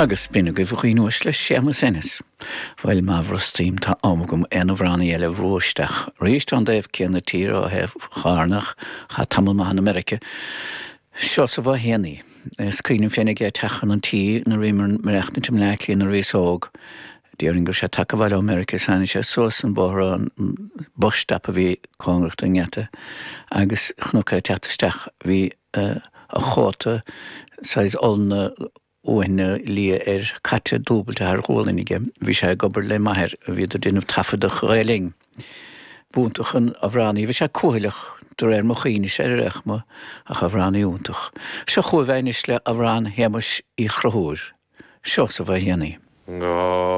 Agus b'in agaibh a dhaoine uaisle, Séamus Ennis. Bhuel, má bhrostaím, tá am agam aon amhránaí eile a bhrú isteach. Arís ón dtaobh céanna tíre, ó thaobh Chárna, ach chaith tamall maith in America. Seosamh Ó hÉanaí. Is cuimhin liom féin aige ag teacht chun an tí nuair a bhíomar ag maireachtaint i mBleá Cliath nuair a bhíos óg. Déarfainn go raibh sé tagtha abhaile ó America is tháinig sé suas an bóthar ón bus stop a bhí cóngarach don ngeata agus chonac é ag teacht isteach. Bhí a chóta saghas olna uaithne liath air caite dúbailte thar ghualainn aige. Bhí sé ag obair le m'athair, bhíodar ag déanamh taifead do Ghael Linn. B'iontach an amhránaí, bhí sé cúthaileach de réir mo chuimhnese ar aon chuma, ach amhránaí iontach. Seo chugaibh é anois le amhrán Shéamuis Uí Chonchúir, Seosamh Ó hÉanaí.